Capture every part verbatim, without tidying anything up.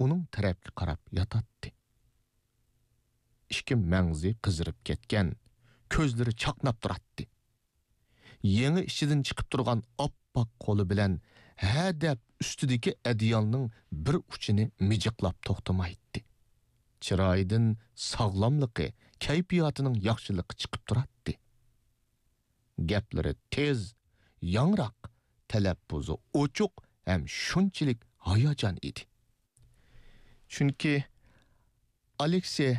ئۇنىڭ تەرەپكە قاراپ ياتاتتى. ئىككى مەڭزى قىزىرىپ كەتكەن، كۆزلىرى چاقناپ تۇراتتى. يېڭى ئىچىدىن چىقىپ تۇرغان ئاپئاق قولى بىلەن ھە دەپ ئۈستىدىكى ئەدىيالنىڭ بىر ئۇچىنى مىجىقلاپ توختىمايتتى. چىرايىدىن ساغلاملىقى، كەيپىياتىنىڭ ياخشىلىقى چىقىپ تۇراتتى. گەپلىرى تېز، ياڭراق، تەلەپپۇزى ئوچۇق ھەم شۇنچىلىك ھاياجان ئىدى. چۈنكى، ئالېكسېي،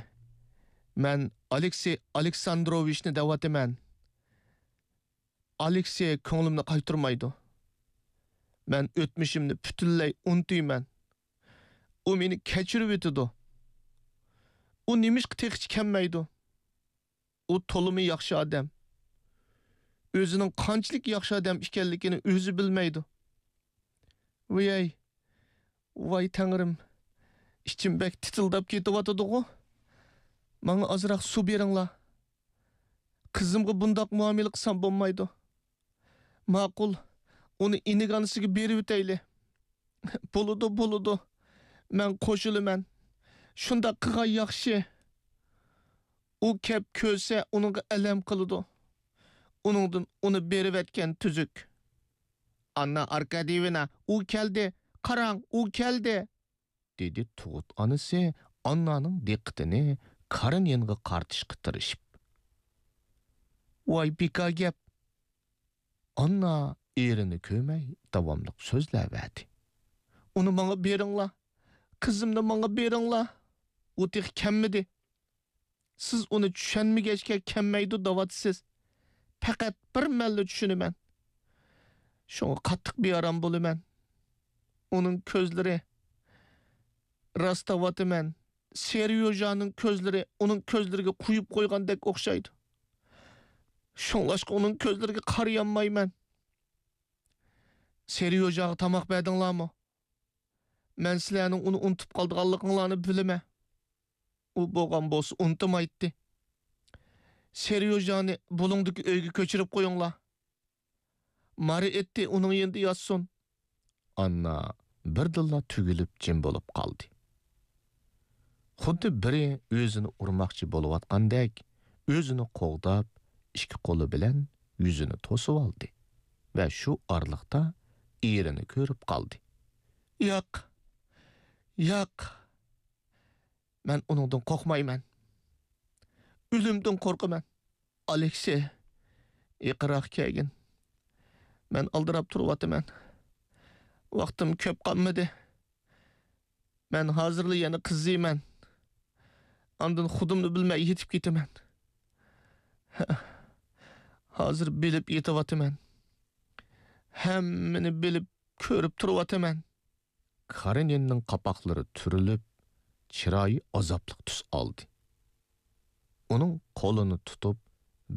مەن ئالېكسېي ئالېكساندروۋىچنى دەۋاتىمەن. ئالېكسېي كۆڭلۈمنى قايتۇرمايدۇ. مەن ئۆتمۈشۈمنى پۈتۈنلەي ئۇنتۇيمەن. ئۇ مېنى كەچۈرۈۋېتىدۇ. ئۇ نېمىشقا تېخىچە كەلمەيدۇ؟ ئۇ تولىمۇ ياخشى ئادەم. ئۆزىنىڭ قانچىلىك ياخشى ئادەم ئىكەنلىكىنى ئۆزى بىلمەيدۇ. ۋىيەي، ۋاي تەڭرىم، ئىچىم بەك تىتىلداپ كېتىۋاتىدىغۇ. ماڭا ئازراق سۇ بېرىڭلار. قىزىمغا بۇنداق مۇئامىلە قىلسام بولمايدۇ. ماقۇل، ئۇنى ئىنىگانىسىگە بېرىۋېتەيلى. بولىدۇ، بولىدۇ. مەن قوشۇلىمەن. شۇنداق قىلغان ياخشى. ئۇ كەپ كۆرسە، ئۇنىڭغا ئەلەم قىلىدۇ. ئۇنىڭدىن ئۇنى بېرىۋەتكەن تۈزۈك. ئاننا ئاركاديېۋنا، ئۇ كەلدى. قاراڭ، ئۇ كەلدى! دېدى تۇغۇت ئانىسى ئاننانىڭ دىققىتىنى كارېنىنغا قارىتىشقا تىرىشىپ. ۋاي بىكار گەپ! ئاننا ئېرىنى كۆرمەي داۋاملىق سۆزلەۋەردى. ئۇنى ماڭا بېرىڭلار! قىزىمنى ماڭا بېرىڭلار! ئۇ تېخى كەلمىدى. سىز ئۇنى چۈشەنمىگەچكە كەلمەيدۇ دەۋاتىسىز. پەقەت بىر مەنلا چۈشىنىمەن. شۇڭا قاتتىق بىئارام بولىمەن. ئۇنىڭ كۆزلىرى، راست دەۋاتىمەن، سېريوژانىڭ كۆزلىرى ئۇنىڭ كۆزلىرىگە قۇيۇپ قويغاندەك ئوخشايدۇ. شۇڭلاشقا ئۇنىڭ كۆزلىرىگە قارىيالمايمەن. سېريوژاغا تاماق بەردىڭلارمۇ؟ مەن سىلەرنىڭ ئۇنى ئۇنتۇپ قالىدىغانلىقىڭلارنى بىلىمەن. ئۇ بولغان بولسا ئۇنتۇمايتتى. سېريوژانى بۇلۇڭدىكى ئۆيگە كۆچۈرۈپ قويۇڭلار. مارى ئېتى ئۇنىڭ يېنىدا ياتسۇن. ئاننا بىردىنلا تۈگۈلۈپ جىم بولۇپ قالدى. خۇددى بىرى ئۆزىنى ئۇرماقچى بولۇۋاتقاندەك، ئۆزىنى قوغداپ، ئىككى قولى بىلەن يۈزىنى توسۇۋالدى ۋە شۇ ئارىلىقتا ئېرىنى كۆرۈپ قالدى. ياق، ياق، مەن ئۇنىڭدىن قورقمايمەن. ئۆلۈمدىن قورقىمەن. ئالېكسېي، يېقىنراق كەلگىن. مەن ئالدىراپ تۇرۇۋاتىمەن. ۋاقتىم كۆپ قالمىدى. مەن ھازىرلا يەنە قىزىيمەن. ئاندىن خۇدۇمنى بىلمەي يېتىپ كېتىمەن. ھە، ھازىر بىلىپ يېتىۋاتىمەن. ھەممىنى بىلىپ، كۆرۈپ تۇرۇۋاتىمەن. كارېنىننىڭ قاپاقلىرى تۈرۈلۈپ، چىرايى ئازابلىق تۈس ئالدى. ئۇنىڭ قولىنى تۇتۇپ،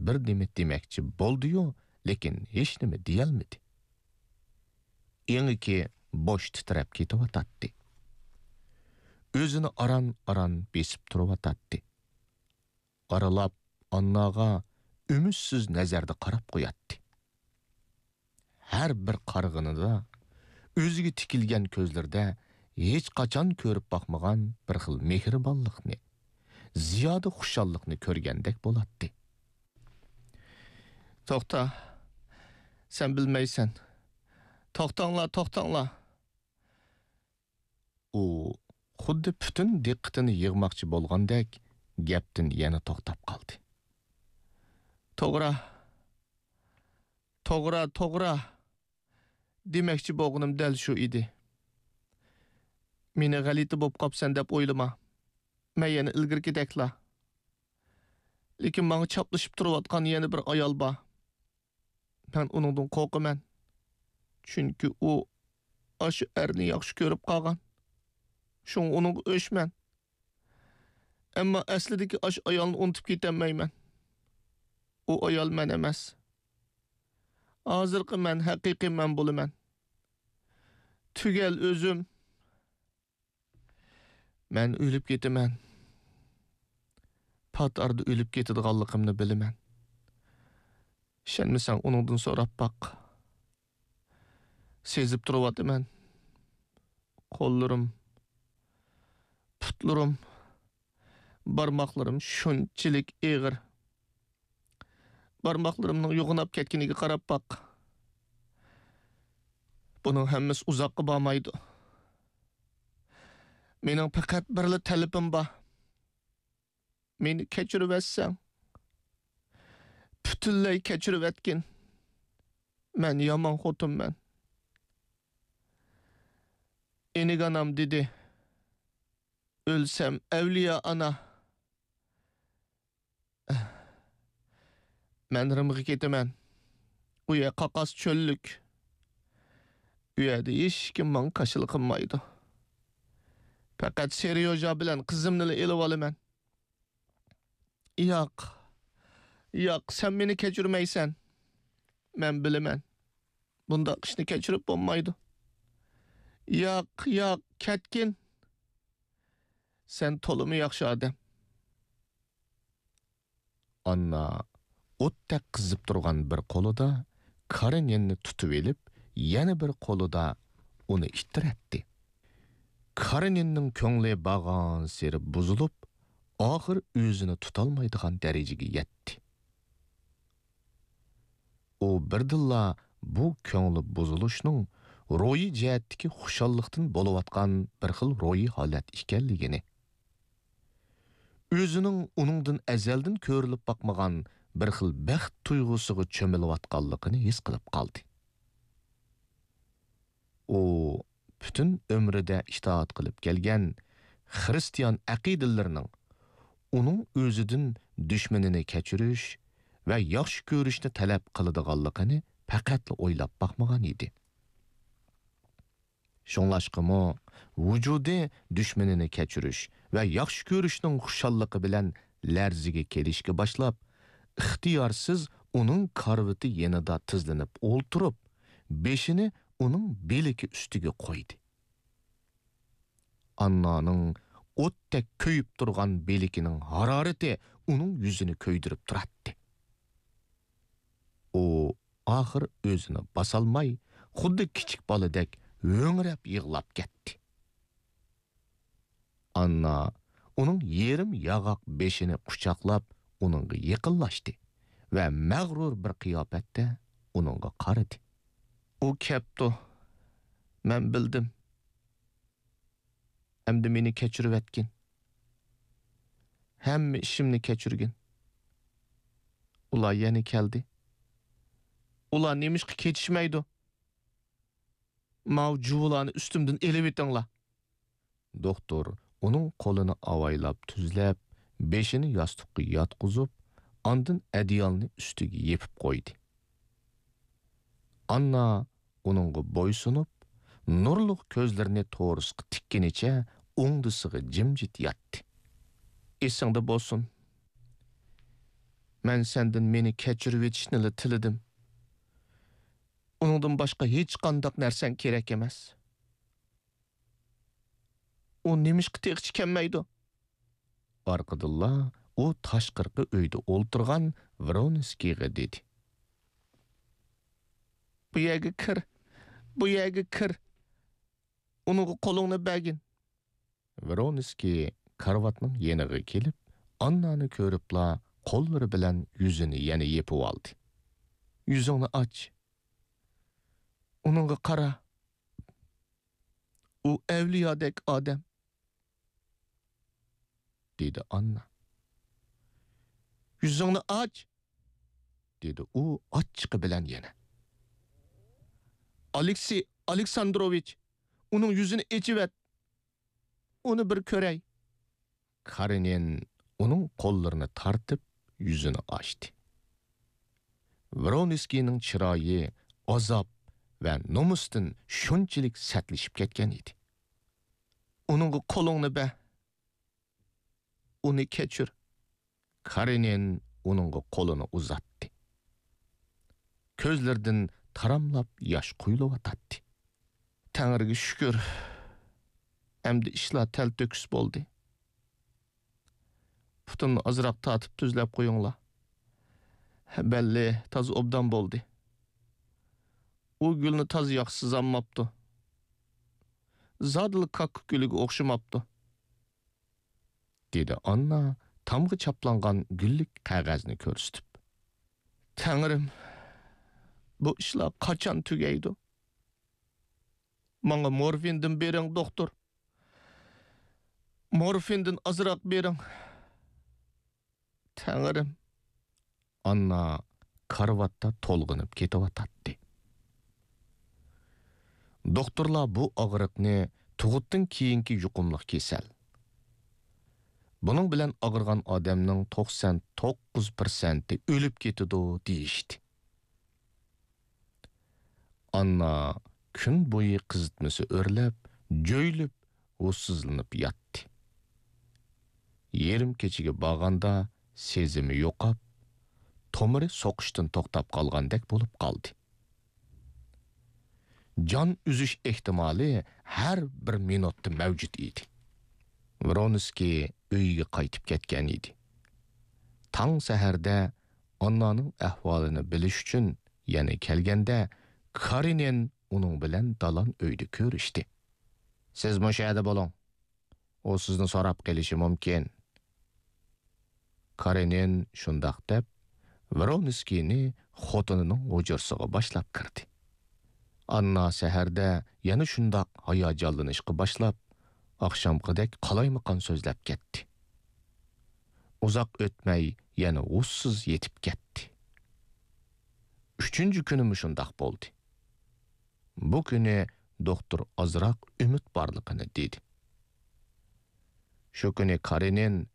بىر نېمە دېمەكچى بولدى-يۇ، لېكىن ھېچنېمە دېيەلمىدى. ئېڭىكى بوش تىترەپ كېتىۋاتاتتى. ئۆزىنى ئاران-ئاران بېسىپ تۇرۇۋاتاتتى. ئارىلاپ ئانناغا ئۈمىدسىز نەزەردە قاراپ قوياتتى. ھەر بىر قارىغىنىدا ئۆزىگە تىكىلگەن كۆزلىرىدە ھېچقاچان كۆرۈپ باقمىغان بىر خىل مېھرىبانلىقنى، زىيادە خۇشاللىقنى كۆرگەندەك بولاتتى. توختا، سەن بىلمەيسەن. توختاڭلار، توختاڭلار! ئۇ خۇددى پۈتۈن دىققىتىنى يىغماقچى بولغاندەك گەپتىن يەنە توختاپ قالدى. توغرا، توغرا، توغرا! دېمەكچى بولغىنىم دەل شۇ ئىدى. مېنى غەلىتە بوپ قاپسەن دەپ ئويلىما. مەن يەنە ئىلگىرىكىدەكلا. لېكىن ماڭا چاپلىشىپ تۇرۇۋاتقان يەنە بىر ئايال بار. مەن ئۇنىڭدىن قورقىمەن. چۈنكى ئۇ ئاشۇ ئەرنى ياخشى كۆرۈپ قالغان. شۇڭا ئۇنىڭغا ئۆچمەن. ئەمما ئەسلىدىكى ئاشۇ ئايالنى ئۇنتۇپ كېتەلمەيمەن. ئۇ ئايال مەن ئەمەس. ھازىرقى مەن ھەقىقىي مەن بولىمەن. تۈگەل ئۆزۈم. مەن ئۆلۈپ كېتىمەن. پات ئارىدا ئۆلۈپ كېتىدىغانلىقىمنى بىلىمەن. ئىشەنمىسەڭ ئۇنىڭدىن سوراپ باق. سېزىپ تۇرۇۋاتىمەن. قوللىرىم، پۇتلىرىم، بارماقلىرىم شۇنچىلىك ئېغىر. بارماقلىرىمنىڭ يوغىناپ كەتكىنىگە قاراپ باق. بۇنىڭ ھەممىسى ئۇزاققا بارمايدۇ. مېنىڭ پەقەت بىرلا تەلىپىم بار. مېنى كەچۈرۈۋەتسەڭ. پۈتۈنلەي كەچۈرۈۋەتكىن. مەن يامان خوتۇنمەن. ئىنىك ئانام دېدى، ئۆلسەم ئەۋلىيا ئانا. مەن رىمغا كېتىمەن. ئۇ يەر قاقاس چۆللۈك. ئۇ يەردە ھېچكىم ماڭا كاشىلا قىلمايدۇ. پەقەت سېريوژا بىلەن قىزىمنىلا ئېلىۋالىمەن. ياق، ياق، سەن مېنى كەچۈرمەيسەن. مەن بىلىمەن. بۇنداق ئىشنى كەچۈرۈپ بولمايدۇ. ياق، ياق، كەتكىن. سەن تولىمۇ ياخشى ئادەم. ئاننا ئوتتەك قىزىپ تۇرغان بىر قولىدا كارېنىننى تۇتۇۋېلىپ، يەنە بىر قولىدا ئۇنى ئىتتىرەتتى. كارېنىننىڭ كۆڭلى بارغانسېرى بۇزۇلۇپ، ئاخىر ئۆزىنى تۇتالمايدىغان دەرىجىگە يەتتى. ئۇ بىردىنلا بۇ كۆڭلى بۇزۇلۇشنىڭ روھىي جەھەتتىكى خۇشاللىقتىن بولۇۋاتقان بىر خىل روھىي ھالەت ئىكەنلىكىنى، ئۆزىنىڭ ئۇنىڭدىن ئەزەلدىن كۆرۈلۈپ باقمىغان بىر خىل بەخت تۇيغۇسىغا چۆمۈلۈۋاتقانلىقىنى ھېس قىلىپ قالدى. ئۇ پۈتۈن ئۆمرىدە ئىتائەت قىلىپ كەلگەن خىرىستىيان ئەقىدىلىرىنىڭ ئۇنىڭ ئۆزىدىن دۈشمىنىنى كەچۈرۈش ۋە ياخشى كۆرۈشنى تەلەپ قىلىدىغانلىقىنى پەقەتلا ئويلاپ باقمىغان ئىدى. شۇڭلاشقىمۇ، ۋۇجۇدى دۈشمىنىنى كەچۈرۈش ۋە ياخشى كۆرۈشنىڭ خۇشاللىقى بىلەن لەرزىگە كېلىشكە باشلاپ، ئىختىيارسىز ئۇنىڭ كارىۋىتى يېنىدا تىزلىنىپ ئولتۇرۇپ، بېشىنى ئۇنىڭ بىلىكى ئۈستىگە قويدى. ئاننانىڭ ئوتتەك كۆيۈپ تۇرغان بىلىكىنىڭ ھارارىتى ئۇنىڭ يۈزىنى كۆيدۈرۈپ تۇراتتى. ئۇ ئاخىر ئۆزىنى باسالماي، خۇددى كىچىك بالىدەك ھۆڭرەپ يىغلاپ كەتتى. ئاننا ئۇنىڭ يېرىم ياغاق بېشىنى قۇچاقلاپ، ئۇنىڭغا يېقىنلاشتى ۋە مەغرۇر بىر قىياپەتتە ئۇنىڭغا قارىدى. ئۇ كەپتۇ. مەن بىلدىم. ئەمدى مېنى كەچۈرۈۋەتكىن. ھەممە ئىشىمنى كەچۈرگىن. ئۇلار يەنە كەلدى. ئۇلار نېمىشقا كېتىشمەيدۇ؟ ماۋۇ جۇۋىلارنى ئۈستۈمدىن ئېلىۋېتىڭلار. دوختۇر ئۇنىڭ قولىنى ئاۋايلاپ تۈزلەپ، بېشىنى ياستۇققا ياتقۇزۇپ، ئاندىن ئەدىيالنى ئۈستىگە يېپىپ قويدى. ئاننا ئۇنىڭغا بويسۇنۇپ، نۇرلۇق كۆزلىرىنى تورۇسقا تىككىنىچە ئوڭدىسىغا جىمجىت ياتتى. ئېسىڭدە بولسۇن، مەن سەندىن مېنى كەچۈرۈۋېتىشنىلا تىلىدىم. ئۇنىڭدىن باشقا ھېچقانداق نەرسەڭ كېرەك ئەمەس. ئۇ نېمىشقا تېخىچە كەلمەيدۇ؟ ئارقىدىنلا ئۇ تاشقىرىقى ئۆيدە ئولتۇرغان ۋرونسكىيغا دېدى. بۇ يەرگە كىر، بۇ يەرگە كىر. ئۇنىڭغا قولۇڭنى بەرگىن. ۋرونسكىي كارىۋاتنىڭ يېنىغا كېلىپ، ئاننانى كۆرۈپلا قوللىرى بىلەن يۈزىنى يەنە يېپىۋالدى. يۈزۈڭنى ئاچ. ئۇنىڭغا قارا. ئۇ ئەۋلىيادەك ئادەم، دېدى ئاننا. يۈزۈڭنى ئاچ، دېدى ئۇ ئاچچىقى بىلەن يەنە. ئالېكسېي ئالېكساندروۋىچ، ئۇنىڭ يۈزىنى ئېچىۋەت. ئۇنى بىر كۆرەي. كارېنىن ئۇنىڭ قوللىرىنى تارتىپ، يۈزىنى ئاچتى. ۋرونسكىينىڭ چىرايى ئازاب ۋە نومۇستىن شۇنچىلىك سەتلىشىپ كەتكەن ئىدى. ئۇنىڭغا قولۇڭنى بەر. ئۇنى كەچۈر. كارېنىن ئۇنىڭغا قولىنى ئۇزاتتى. كۆزلىرىدىن تاراملاپ ياش قۇيۇلۇۋاتاتتى. تەڭرىگە شۈكۈر، ئەمدى ئىشلار تەلتۆكۈس بولدى. پۇتۇمنى ئازراق تارتىپ تۈزلەپ قويۇڭلار. بەللى تازا ئوبدان بولدى. ئۇ گۈلنى تازا ياخشى سىزالماپتۇ. زادىلا كاككۇك گۈلىگە ئوخشىماپتۇ. دېدى ئاننا تامغا چاپلانغان گۈللۈك قەغەزنى كۆرسىتىپ. تەڭرىم، بۇ ئىشلار قاچان تۈگەيدۇ؟ ماڭا مورفىندىن بېرىڭ، دوختۇر. مورفىندىن ئازراق بېرىڭ. تەڭرىم. ئاننا كارىۋاتتا تولغىنىپ كېتىۋاتاتتى. دوختۇرلار بۇ ئاغرىقنى تۇغۇتتىن كېيىنكى يۇقۇملۇق كېسەل، بۇنىڭ بىلەن ئاغرىغان ئادەمنىڭ توقسان توققۇز پىرسەنتى ئۆلۈپ كېتىدۇ، دېيىشتى. ئاننا كۈن بويى قىزىتمىسى ئۆرلەپ، جۆيلۈپ، ھوشسىزلىنىپ ياتتى. يېرىم كېچىگە بارغاندا سېزىمى يوقاپ، تومۇرى سوقۇشتىن توختاپ قالغاندەك بولۇپ قالدى. جان ئۈزۈش ئېھتىمالى ھەر بىر مىنۇتتا مەۋجۇت ئىدى. ۋرونسكىي ئۆيىگە قايتىپ كەتكەن ئىدى. تاڭ سەھەردە ئاننانىڭ ئەھۋالىنى بىلىش ئۈچۈن يەنە كەلگەندە، كارېنىن ئۇنىڭ بىلەن دالان ئۆيدە كۆرۈشتى. سىز مۇشۇ يەردە بولۇڭ. ئۇ سىزنى سوراپ قېلىشى مۇمكىن. كارېنىن شۇنداق دەپ، ۋرونسكىينى خوتۇنىنىڭ ھۇجرىسىغا باشلاپ كىردى. ئاننا سەھەردە يەنە شۇنداق ھاياجانلىنىشقا باشلاپ، ئاخشامقىدەك قالايمىقان سۆزلەپ كەتتى. ئۇزاق ئۆتمەي يەنە ھوشسىز يېتىپ كەتتى. ئۈچىنچى كۈنىمۇ شۇنداق بولدى. بۇ كۈنى دوختۇر ئازراق ئۈمىد بارلىقىنى دېدى. شۇ كۈنى كارېنىن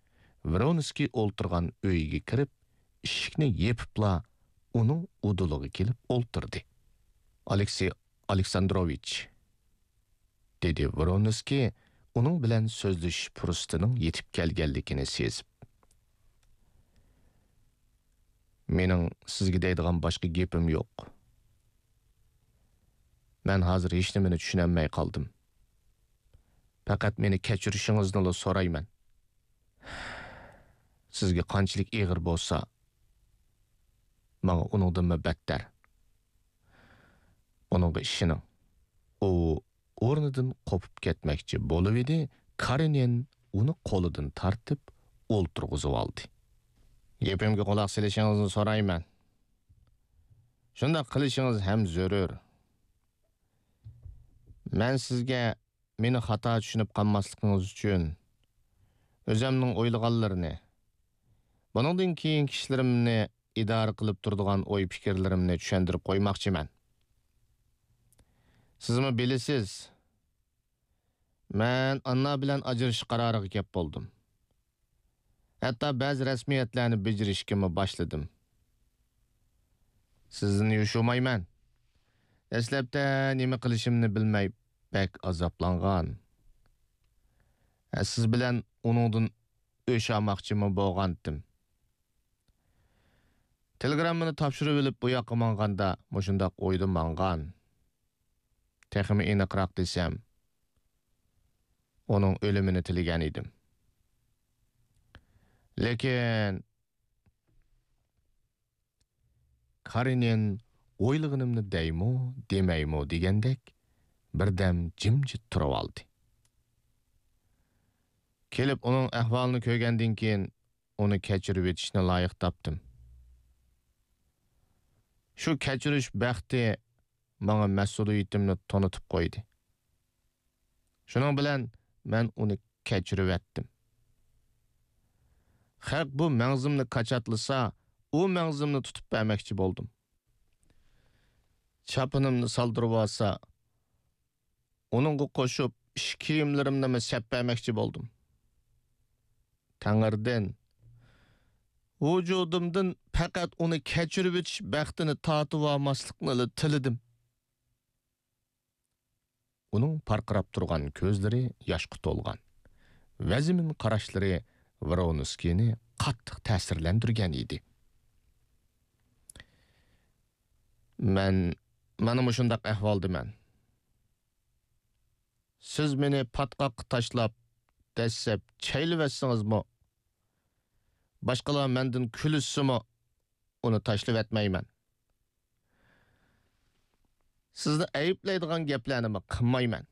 ۋرونسكىي ئولتۇرغان ئۆيىگە كىرىپ، ئىشىكنى يېپىپلا، ئۇنىڭ ئۇدۇلىغا كېلىپ ئولتۇردى. ئالېكسېي ئالېكساندروۋىچ، دېدى ۋرونسكىي ئۇنىڭ بىلەن سۆزلىشىش پۇرسىتىنىڭ يېتىپ كەلگەنلىكىنى سېزىپ. مېنىڭ سىزگە دەيدىغان باشقا گېپىم يوق. مەن ھازىر ھېچنېمىنى چۈشىنەلمەي قالدىم. پەقەت مېنى كەچۈرۈشىڭىزنىلا سورايمەن. سىزگە قانچىلىك ئېغىر بولسا، ماڭا ئۇنىڭدىنمۇ بەتتەر. ئۇنىڭغا ئىشىنىڭ. ئۇ ئورنىدىن قوپۇپ كەتمەكچى بولۇۋىدى، كارېنىن ئۇنى قولىدىن تارتىپ ئولتۇرغۇزۇۋالدى. گېپىمگە قۇلاق سېلىشىڭىزنى سورايمەن. شۇنداق قىلىشىڭىز ھەم زۆرۈر. مەن سىزگە مېنى خاتا چۈشىنىپ قالماسلىقىڭىز ئۈچۈن، ئۆزەمنىڭ ئويلىغانلىرىنى، بۇنىڭدىن كېيىنكى ئىشلىرىمنى ئىدارە قىلىپ تۇرىدىغان ئوي-پىكىرلىرىمنى چۈشەندۈرۈپ قويماقچىمەن. سىزمۇ بىلىسىز، مەن ئاننا بىلەن ئاجرىشىش قارارىغا كەپ بولدۇم. ھەتتا بەزى رەسمىيەتلەرنى بېجىرىشكىمۇ باشلىدىم. سىزدىن يوشۇرمايمەن. دەسلەپتە نېمە قىلىشىمنى بىلمەي بەك ئازابلانغان. ھە، سىز بىلەن ئۇنىڭدىن ئۆچ ئالماقچىمۇ بولغانتىم. تېلېگراممىنى تاپشۇرۇۋېلىپ بۇ ياققا ماڭغاندا مۇشۇنداق ئويدا ماڭغان. تېخىمۇ ئېنىقراق دېسەم، ئۇنىڭ ئۆلۈمىنى تىلىگەن ئىدىم. لېكىن كارېنىن ئويلىغىنىمنى دەيمۇ، دېمەيمۇ دېگەندەك بىردەم جىمجىت تۇرۇۋالدى. كېلىپ ئۇنىڭ ئەھۋالىنى كۆرگەندىن كېيىن، ئۇنى كەچۈرۈۋېتىشنى لايىق تاپتىم. شۇ كەچۈرۈش بەختى ماڭا مەسئۇلىيىتىمنى تونۇتۇپ قويدى. شۇنىڭ بىلەن مەن ئۇنى كەچۈرۈۋەتتىم. خەق بۇ مەڭزىمنى كاچاتلىسا، ئۇ مەڭزىمنى تۇتۇپ بەرمەكچى بولدۇم. چاپىنىمنى سالدۇرۇۋالسا، ئۇنىڭغا قوشۇپ ئىش كىيىملىرىمنىمۇ سەپ بەرمەكچى بولدۇم. تەڭرىدىن، ۋۇجۇدۇمدىن پەقەت ئۇنى كەچۈرۈۋېتىش بەختىنى تارتىۋالماسلىقنىلا تىلىدىم. ئۇنىڭ پارقىراپ تۇرغان كۆزلىرى ياشقا تولغان، ۋەزمىن قاراشلىرى ۋرونسكىينى قاتتىق تەسىرلەندۈرگەن ئىدى. مەن مانا مۇشۇنداق ئەھۋالدىمەن. سىز مېنى پاتقاققا تاشلاپ، دەسسەپ چەيلىۋەتسىڭىزمۇ، باشقىلار مەندىن كۈلۈشسىمۇ، ئۇنى تاشلىۋەتمەيمەن. سىزنى ئەيىبلەيدىغان گەپلەرنىمۇ قىلمايمەن.